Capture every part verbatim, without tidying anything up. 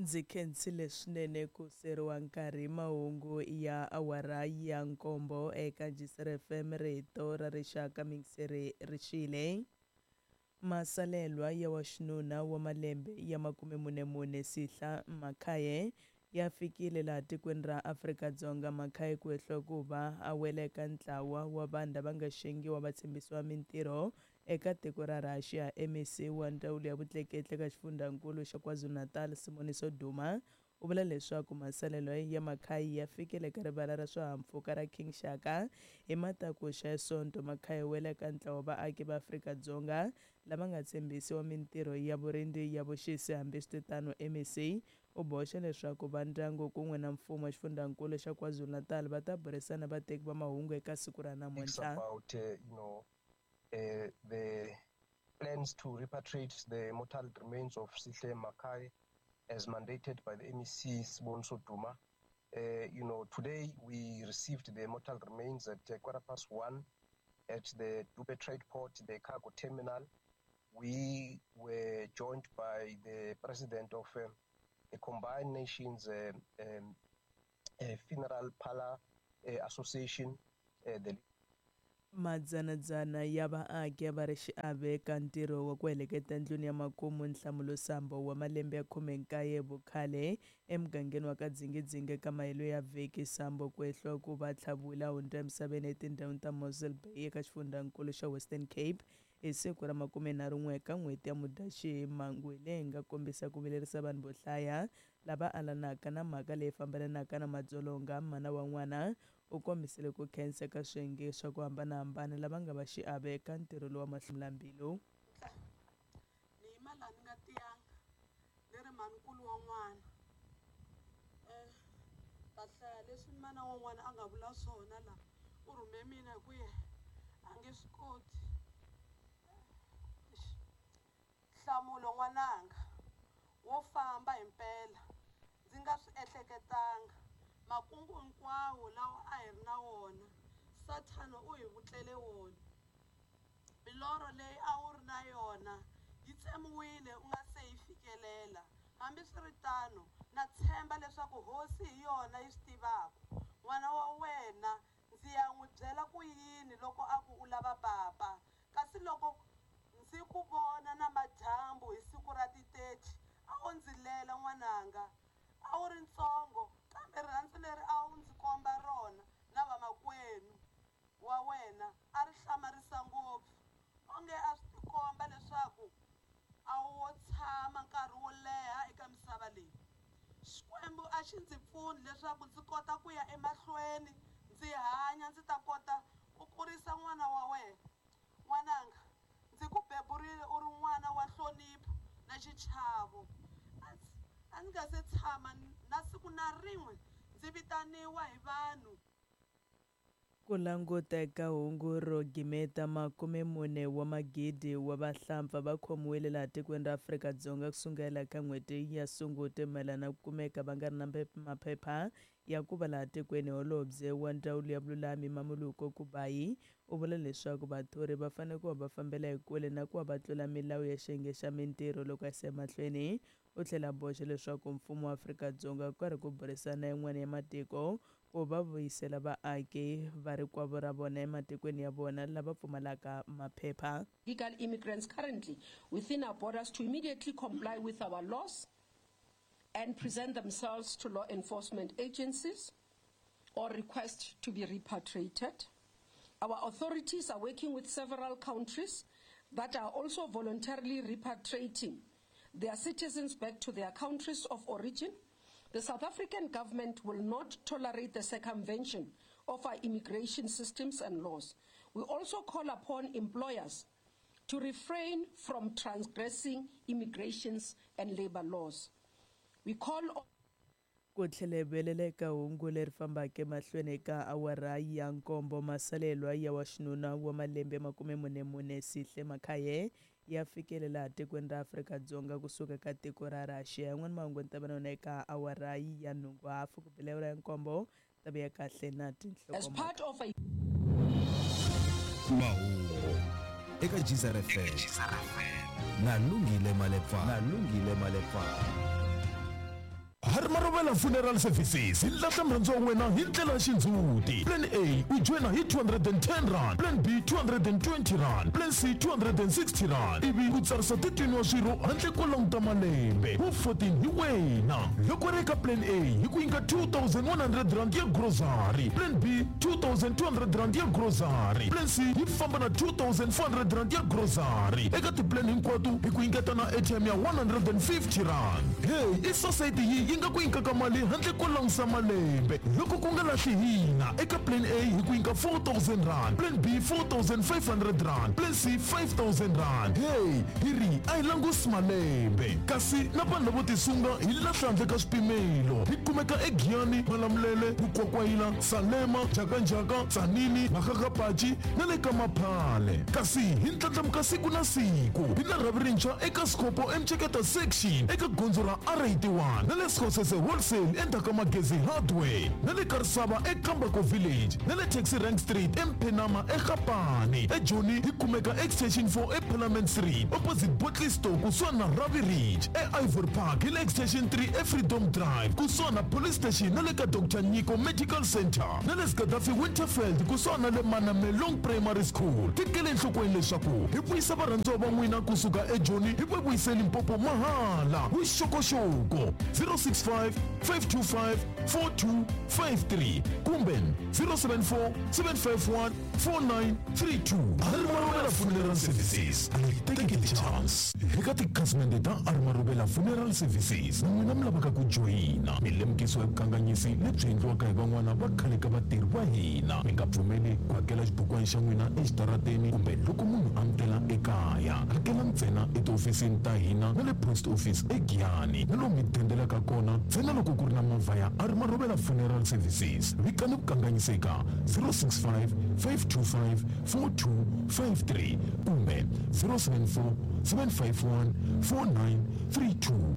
Ndzi khensile swinene ku seriwa nkarhi mahungu ya awara ya nkombo eka G C F M, rito ra rixaka mingiseri rixile. Masalelwa ya wa xinuna wa malembe ya makume mune mune Sihla Makhaye ya fikile laha tikweni ra Afrika-Dzonga. Makhaye ku hehliwa ku va a wela eka ntlawa wa vanhu lava nga xengiwa va tshembisiwa mintirho eka tiko ra Russia. M E C wa ndzawulo ya vutleketli eka xifundzankulu xa KwaZulu-Natal, Siboniso Duma, u vula leswaku masalelo ya Makhaye ya fikile eka rivala ra swihahampfhuka ra King Shaka hi matakuxa ya Sonto. Makhaye wela eka ntlawa wa vaaki va Afrika-Dzonga lava nga tshembisiwa mintirho ya vurindzi ya vuxisi. Hambiswiritano, M E C u boxa leswaku va ndyangu kun'we na mfumo wa xifundzankulu xa KwaZulu-Natal va ta burisana vateki va mahungu eka siku ra namuntlha. About uh, you know uh, the plans to repatriate the mortal remains of Sihle Makai as mandated by the M E C Siboniso Duma. Uh, you know, today we received the mortal remains at uh, quarter past one at the Dube Trade Port, the cargo terminal. We were joined by the president of uh, the Combined Nations uh, um, uh, Funeral Parlor uh, Association, uh, the Madzanadzana ya vaaki a va ri xiave eka ntirho wa ku heleketa ndlwini ya makumu Nhlamulo Sambo wa malembe ya khume nkaye vukhale emugangeni wa ka Dzingidzingi eka mahelo ya vhiki. Sambo ku hehliwa ku va tlhaviwile a hundza emisaveni etindhawini ta Mossel Bay eka xifundzankulu xa Western Cape hi siku ra makumenharhu n'we eka n'hweti ya Mudyaxihi. Mhangu leyi nga kombisa ku vilerisa vanhu vo hlaya lava alanaka na mhaka leyi fambelanaka na madzolonga. Mana wa n'wana u kombisile ku khensa eka swiyenge swa ku hambanahambana lava nga va xiave eka ntirho lowu wa mahlomulambilu. Ni yima laha ni nga tiyanga ni ri mhanikulu wa n'wana um ta hlaya leswi mana wa n'wana a nga vula swona laha u rhume mina hi ku ye a nge swi koti. Nhlamulo n'wananga wo famba himpela ndzi nga swi ehleketanga makungu hinkwawo lawa a hi ri na wona sathana u hi vutlele wona milorho leyi a wu ri na yona yi tsemiwile u nga se yi fikelela. Hambiswiritano na tshemba leswaku hosi hi yona yi swi tivaka. N'wana wa wena ndzi ya n'wi byela ku yini loko a ku u lava papa kasi loko ndzi ku vona namadyambu hi siku ra ti-thirty a wo ndzi lela n'wananga. A wu ri ntsongo kambe rirhandzu leri a wu ndzi komba rona na vamakwenu wa wena a ri hlamarisa ngopfu onge a swi tikomba leswaku a wo tshama nkarhi wo leha eka misava leyi. Xikwembu a xi ndzi pfuni leswaku ndzi kota ku ya emahlweni ndzi hanya ndzi ta kota ku kurisa n'wana wa wena. N'wananga ndzi ku beburile u ri n'wana wa nhlonipho na xichavo. A ndzi a ndzi nga se tshama na siku na rin'we ndzi vitaniwa hi vanhu. Ku languta eka hungu ro gimeta, makume mune wa magidi wa vahlampfa va khomiwile laha tikweni ra Afrika-Dzonga kusukela ka n'hweti ya Sunguti mayelana na ku kumeka va nga ri na maphepha ya ku va laha tikweni. Holobye wa ndzawulo ya vululami, Mmamoloko Kubayi, u vula leswaku vathori va fanele ku va va fambela ekule na ku va va tlula milawu ya xiyenge xa mintirho loko a yisa emahlweni. U tlhela a boxa leswaku mfumo wa Afrika-Dzonga ku karhi ku burisana yin'wana ya matiko ku va vuyisela vaaki va rikwavo ra vona ematikweni ya vona lava pfumalaka maphepha. Illegal immigrants currently within our borders to immediately comply with our laws and present themselves to law enforcement agencies or request to be repatriated. Our authorities are working with several countries that are also voluntarily repatriating their citizens back to their countries of origin. The South African government will not tolerate the circumvention of our immigration systems and laws. We also call upon employers to refrain from transgressing immigrations and labor laws. We call on Ku tlhela hi vuyelela eka hungu leri fambaka emahlweni eka awara ya nkombo, masalelwa ya wa xinuna wa malembe makume mune mune Sihle Makhaye ya fikele laha tikweni ra Afrika-Dzonga kusuka ka tiko ra Russia. Yan'wana mahungu ni ta va na yona eka awara ya nhungu hafu ku bela awara ya nkombo ta vuya kahle na as tinhlokomhaka. Part of a Mahungu eka Geyser F M na Lungile Malepa na Lungile Malepa. Harimarovela Funeral Services hi lahla murhandziwa wa wena hi ndlela ya xindzhuti. Plan A u joyina hi two hundred and ten rand, Plan B two hundred and twenty rand, Plan C two hundred and sixty rand, ivi ku tsarisa thirteen wa swirho handle ko languta malembe wu fourteen hi wena. Loko ri eka Plan A hi ku nyika two thousand one hundred rand ya grocery, Plan B two thousand two hundred rand ya grocery, Plan C yi famba na two thousand four hundred rand ya grocery. Eka tiplan hinkwato hi ku nyiketa na airtime ya one hundred and fifty rand. Hey, i society yi yi nga ku nyikaka mali handle ko langusa malembe. Loko ku nga lahli hina, eka Plan A hi ku nyika four thousand rand, Plan B four thousand five hundred rand, Plan C five thousand rand. Hey, hi ri a hi langusi malembe. Kasi na vanhu lavo tisunga hi lahla handle ka swipimelo. Hi kumeka eGiyani, Malamulele, Mukwakwayila, Salema, Jakanjaka, Tzaneen, Makgakgapachi na le ka Maphale. Kasi hi ndlandlamuka siku na siku. Hi na rhavi rintshwa eka Scopo eMcheketa section eka gondzo ra R eighty-one na le Skhosese Wholesale endzhaku ka Magezi Hardware na le Karisava eKambako Village na le Taxi Rank Street eMphenama eGapane. EJoni hi kumeka Extension four eParliament Street opposite Botley Store kusuhani na Ravi Ridge. E-Ivory Park hi le Extension three eFreedom Drive kusuhani na Police Station na le ka Doctor Nyiko Medical Center na le Gaddafi Winterfeld kusuhani na le Manamelong Primary School. Tekele enhlokweni leswaku hi vuyisa varhandziwa va n'wina kusuka eJoni hi va vuyise Limpopo mahala. Vuxokoxoko zero six five, five two five, four two five three kumbe zero seven four, seven five one, four nine three two. Arimarobela Funeral Services, take the chance. Eka tikhasimende ta Arimarobela Funeral Services na n'wina mi lavaka ku joyina milemukiso ya vukanganyisi lebyi endliwaka hi van'wana va khale ka vatirhi va hina. Mi nga pfumeli ku hakela xibukwana xa n'wina exitarateni kumbe loko munhu a mi tela ekaya. Hakela ntsena etihofisini ta hina na le post office eGiyani na lomu mi dendelaka kona ntsena loko ku ri na movha ya Arimarobela Funeral Services. Vikani vukanganyiseka zero six five, five two five, four two five three kumbe zero seven four, seven five one, four nine three two.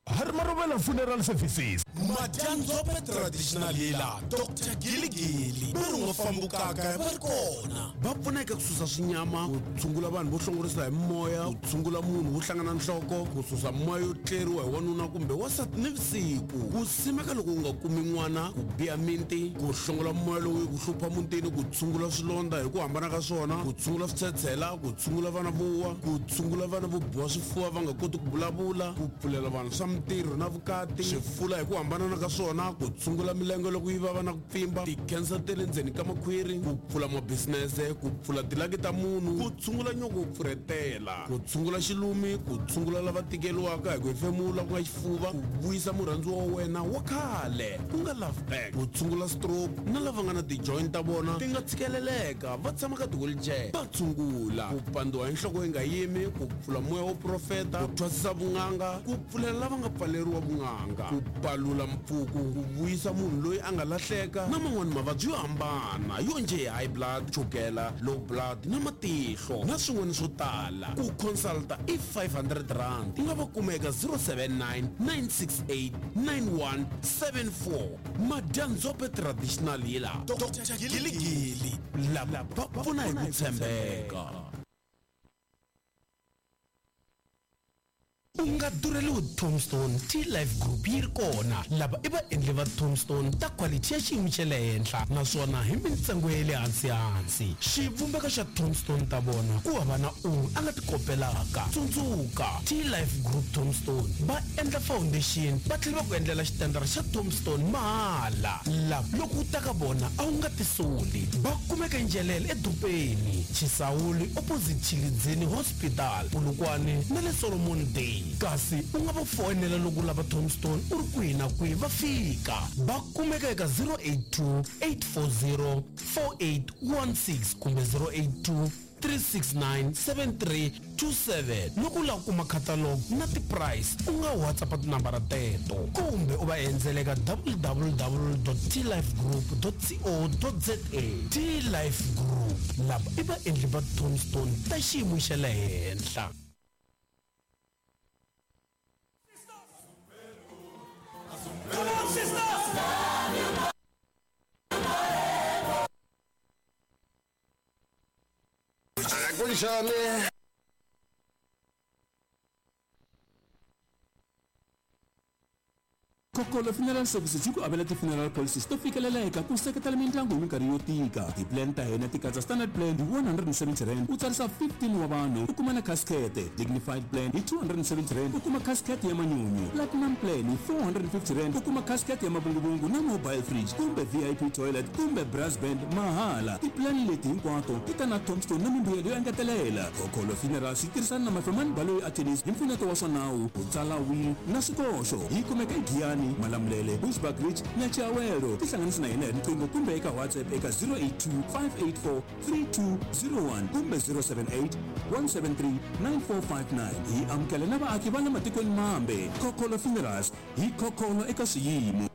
Arimarobela Funeral Services. Madyanzope traditional healer Doctor Giligili va ri nga fambukaka va ri kona va pfuneka ku susa swinyama, ku tshungula vanhu vo hlongorisa hi moya, ku tshungula munhu wo hlangana nhloko, ku susa moya yo tleriwa hi wanuna kumbe wansati nivusiku, ku simeka loko u nga kumi n'wana, ku biha minti, ku hlongola moya lowu ku hlupha mutini, ku tshungula swilondza hi ku hambana ka swona, ku tshungula switshetshela, ku tshungula vana vo wa, ku tshungula vana vo biwa swifuva va nga koti ku vulavula, ku pfulela vanhu swa mintirho na vukati, swifula hi ku hambana ka swona, ku tshungula milenge loko yi vava na ku pfimba, ti-cancer ta le ndzeni ka makhwiri, ku pfula mabisinese, ku pfula tilaki ta munhu, ku tshungula nyoko wo pfurhetela, ku tshungula xilumi, ku tshungula lava tikeriwaka hi ku hefemula ku nga xifuva, ku vuyisa murhandziwa wa wena wa khale ku nga love back, ku tshungula stroke na lava nga na ti-joint ta vona ti nga tshikeleleka va tshama ka ti-wheelchair va tshungula, ku pandziwa hi nhloko yi nga yimi, ku pfula moya wo profeta, ku thwasisa vun'anga, ku pfulela lava nga pfaleriwa vun'anga, ku palula mpfuku, ku vuyisa munhu loyi a nga lahleka na man'wani mavabyi yo hambana yo njhe high blood, chukela, low blood na matihlo na swin'wana swo tala. Ku consulta i five hundred rand. U nga va kuma eka zero seven nine, nine six eight, nine one seven four. Madyanzope traditional healer Doctor Giligili lava va pfuna hi ku tshembeka. U nga durheliwi Tombstone T-Life Group yi ri kona. Lava i vaendli va Tombstone ta quality ya xiyimo xa le henhla naswona hi mintsengo ya le hansi-hansi. Xivumbeko xa Tombstone ta vona ku hava na un'we a nga ti kopelaka. Tsundzuka T-Life Group Tombstone va endla foundation va tlhela va ku endlela xitandara xa Tombstone mahala. Lava loko u ta ka vona a wu nga tisoli. Va kumeka Njelele eDupeni, Chisawuli opposite Chilidzini Hospital, Polokwane na le Solomon Day. Kasi u nga va foyinela loko u lava Tombstone u ri kwihi na kwihi va fika. Va kumeka eka zero eight two, eight four zero, four eight one six kumbe zero eight two, three six nine, seven three two seven. Loko u lava ku kuma catalog na ti-price u nga WhatsApp tinambara teto kumbe u va endzela eka w w w dot t life group dot co dot za. T-Life Group lava i vaendli va Tombstone ta xiyimo xa le henhla. Kunjani? Khokholo Funeral Services yi ku avela ti-funeral policies to fikeleleka ku seketela mindyangu hi minkarhi yo tika. Ti-plan ta hina ti katsa standard plan hi one hundred and seventy rand u tsarisa fifteen wa vanhu u kuma na casket, dignified plan hi two hundred and seventy rand u kuma casket ya manyunyu, platinum plan hi four hundred and fifty rand u kuma casket ya mavunguvungu na mobile fridge kumbe V I P toilet kumbe brass band mahala. Ti-plan leti hinkwato ti ta na tombstone na mimbuyelo yo engetelela. Khokholo Funerals yi tirhisana na Mafemani Baloyi Attorneys hi mpfuneto wa swa nawu ku tsala will na swikoxo. Yi kumeka eGiyani, Malamulele, Bushbuckridge na Chiawelo. Tihlanganisi na hina hi riqingho kumbe eka WhatsApp eka zero eight two, five eight four, three two zero one kumbe zero seven eight, one seven three, nine four five nine. Hi amukela na vaaki va le matikweni mambe. Khokholo Funerals hi khokholo eka swiyimo.